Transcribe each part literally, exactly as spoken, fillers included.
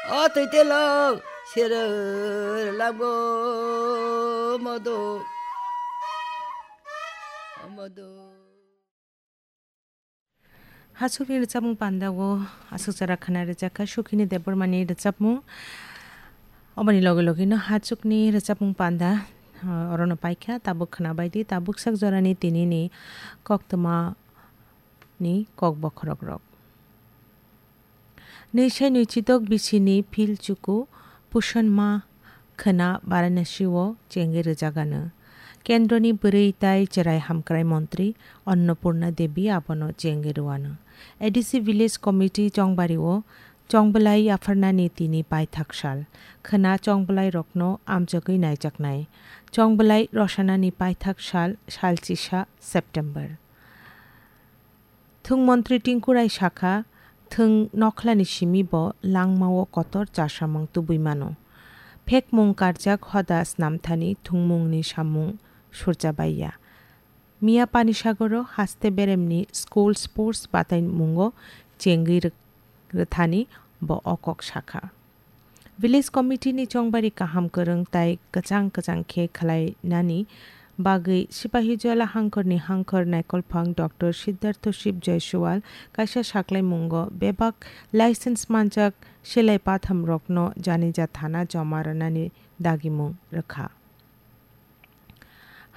O twi telo sero lago modo modo. Hachukni rwchapmung panda o aswk jora khna rwjakha Sukhini Debbarmani rwchapmung. Oboni loge loge no hachukni rwchapmung panda, ah, orono paikha, tabuk khna baidi, tabuk sak jorani tinini koktwma ni kok bokhorok rok. Nwi sai nwi chidok bisini phil chuku Pushan Ma khwna Varanasi o chengwi rwjagano. Kendroni bwrwi tai chwrai hamkrai montri Annapurna Devi abono chengwi rwano. A D C Village Committee Chongbari o chongbwlai yapharnani tini paithak sal. Khwna chongbwlai rokno amchogwi naijaknai. Chongbwlai rosanani paithak sal, salchisa September. Thwng montri Tinku Rai sakha, thwng nokhlani simi bo langmao kotor chasamung tubui mano. Phekmung karjak hoda snamthani thwngmungni samung surjabaiya. Miya Panisagoro haste beremni school sports bataimungo chengwi rw-, rwthani bo o kok sakha. Village Committee ni chongbari kaham kwrwng tai kwchang kwchang khe khwlainani bagwi Sipahijola hangkhorni hangkhor naikolphang Doctor Siddhartho Shiv Jaiswal kaisa saklaimungo bebak license manjak selai pathamrokno Janija thana joma rwnani dagimung rwkha.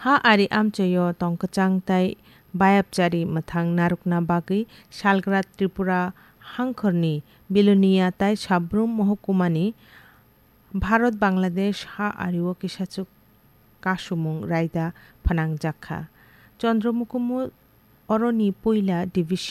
Ha ari amchoio tongkwchang tai bayapchari mwthang narwkna bagwi salgra Tripura hangkhorni Bilonia tai Sabrum mohokumani Bharat Bangladesh ha ario kisachuk kasumung raida phnangjakha. Chandra Mukumu oroni puila division